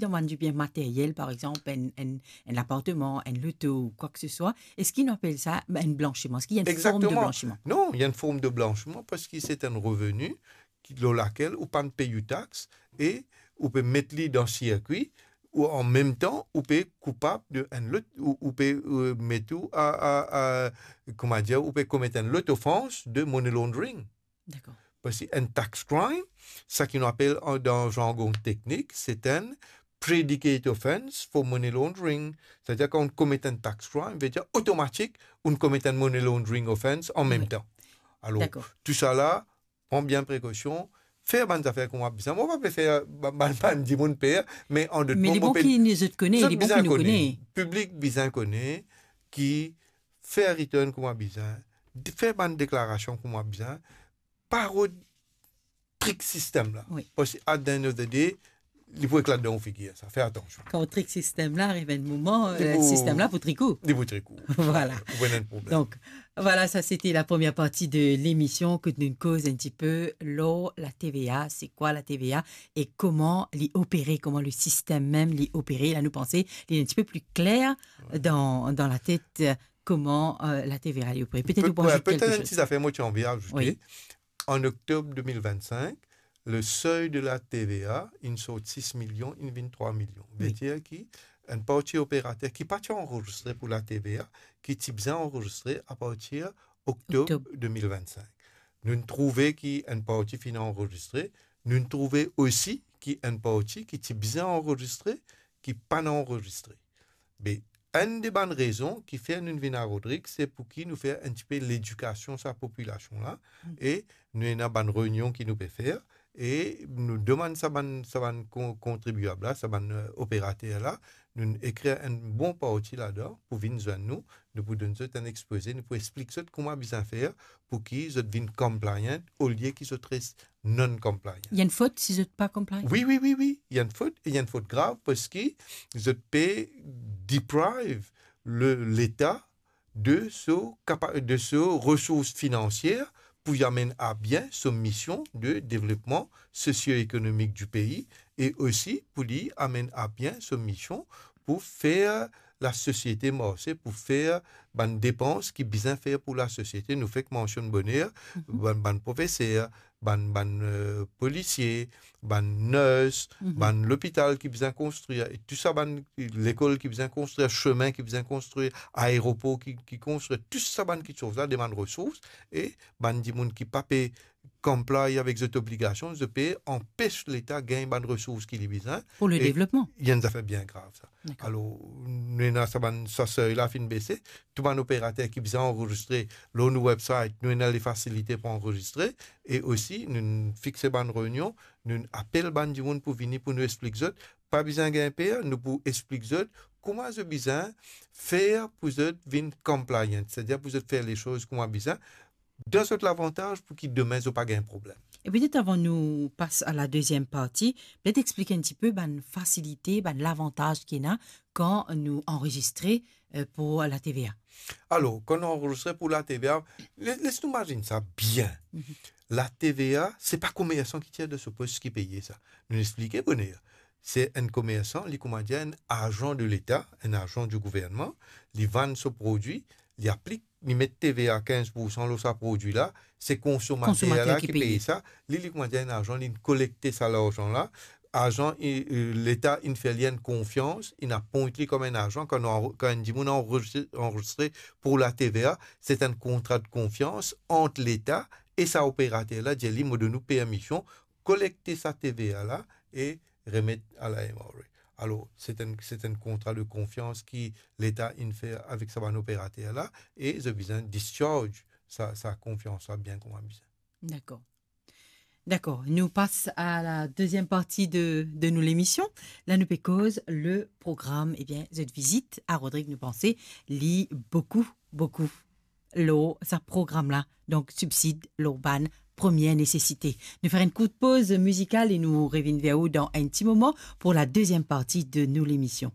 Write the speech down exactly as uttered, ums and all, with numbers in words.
dan bann dibien materyel, par exanp, enn, enn, enn lapartman, enn loto ou kwa ke se swa, eski nou apel sa enn blansiman? Eski ena enn form de blansiman? Non, ena enn form de blansiman parski se enn reveni ki, lor lakel ou pa'nn pey ou tax e ou pe met li dan sirkwi, ou an mem tan ou pe koupab de enn lot, ou, ou pe, euh, met ou a, a, a, kouma dir, ou pe komet enn lot ofans de money laundering. Dakor. Parski enn tax crime, sa ki nou apel an, dan zargon teknik, se enn predicate offence for money laundering. Setadir kan ou komet enn tax crime, vedir otomatik ou komet enn money laundering offence an mem tan. Alor, tou sala, pran bien prekosion, fer bann zafer kouma bizin. Mo pa pe fer ba-, bann, bann dimoun per, me an lot mo, mo pe... Me li bon ki zot kone, li bon ki nou kone. Piblik bizin kone ki fer return kouma bizin, fer bann deklarasion kouma bizin, pa rod trik sistem la. Wi. Parski at the end of the day, li pou eklat dan ou figir sa. Fer atansion. Kan ou trik sistem la, ariv enn moman, li pou, sistem la pou trik ou. Li pou trik ou. Vwala. Ou pou ena enn problem. Donk, vwala, sa sete la première partie de l'émission kot nou koz enn tipe lor la T V A, se kwa la T V A e kouma li opere, kouma le sistem mem li opere. La nou panse li enn tipe pli kler dan, dan latet, euh, kouma, euh, la T V A li opere. Petet ou pou azout kelke soz. Petet enn ti zafer mo ti anvi azoute. Wi. An oktob de mil vennsink, le seuil de la T V A inn sort sis milion, inn vinn trwa milion. Wi. Vedir ki enn parti operater ki pa ti anrezistre pou la T V A, ki ti bizin anrezistre apartir oktob, oktob, de mil vennsink. Nou'nn trouve ki enn parti finn anrezistre, nou'nn trouve osi ki enn parti ki ti bizin anrezistre, ki pa'nn anrezistre. Be, enn de bann rezon ki fer nou vinn a Rodrig, se pou ki nou fer enn tipe ledikasion sa popilasion la, e nou ena bann reynion ki nou pe fer, e nou demann sa bann, sa bann kon-, kontribiab la, sa bann, euh, operater la, nou ekrir enn bon parti ladan pou vinn zwenn nou, nou pou donn zot enn expose, nou pou explik zot kouma bizin fer pou ki zot vinn compliant, olie ki zot res non-compliant. Ena enn fot si zot pa compliant? Wi, wi, wi, wi. Ena enn fot, e ena enn fot grav parski zot pe deprive le, Leta de so kapa-, de so resours finansier pou li amenn a bien so mision de devlopman sosio-ekonomik di pei e osi pou li amenn a bien so mision pou fer lasosiete marse, pou fer bann depans ki bizin fer pou lasosiete. Nou fek mansionn boner, mhm, bann, bann profeser, bann, bann, euh, polisie, bann nurse, mhm, bann lopital ki bizin konstrir, e tou sa bann lekol ki bizin konstrir, sime ki bizin konstrir, aeropor ki, ki konstrir, tou sa bann kiksoz la demann resours, e bann dimoun ki pa pe comply avek zot obligasion, zot pe anpes Leta gagn bann resours ki li bizin. Pou le devlopman. E ena enn zafer bien grav sa. Dakor. Alor, nou ena sa bann, sa seuil la finn bese, tou bann operater ki bizin anrezistre lor nou website, nou ena lefasilite pou anrezistre, e osi nou fixe bann reynion, nou apel bann dimoun pou vini pou nou explik zot, pa bizin gagn per, nou pou explik zot kouma zot bizin fer pou zot vinn compliant, setadir pou zot fer lesoz kouma bizin, dan zot lavantaz pou ki demin zot pa gagn problem. E petet avan nou pas a la deziem parti, petet explik enn tipe bann fasilite, bann lavantaz ki ena kan nou anrezistre, euh, pou la T V A. Alor, kan nou anrezistre pou la T V A, le-, les nou mazinn sa bien. Mhm. La T V A, se pa komersan ki tir de so pos ki peye sa. Nou explike boner. Se enn komersan, li kouma dir enn azan de Leta, enn azan di gouvernman, li vann so prodwi, li aplik, li met T V A kinz poursan lor sa prodwi la, se konsomater la ki peye sa, li, li kouma dir enn azan, li kolekte sa larzan la, azan, i, i, Leta inn fer li enn konfians, inn apwint li kom enn azan, kan, kan enn dimoun anrezistre, anrezistre pou la T V A, se enn kontra de konfians ant Leta e sa operater la, dir li, mo donn ou permision, kolekte sa T V A la e remet a la M R A. Alor, se enn, se enn kontra de konfians ki Leta inn fer avek sa bann operater la, e zot bizin discharge sa, sa konfians la bien kouma bizin. Dakor. Dakor. Nou pas a la deziem parti de, de nou lemision. La nou pe koz le program, ebien, zot vizit a Rodrig, nou panse li boukou, boukou lor sa program la, donk sibsid lor bann premie nesesite. Nou fer enn kourt poz mizikal e nou revinn ver ou dan enn ti moman pou la deziem parti de nou lemision.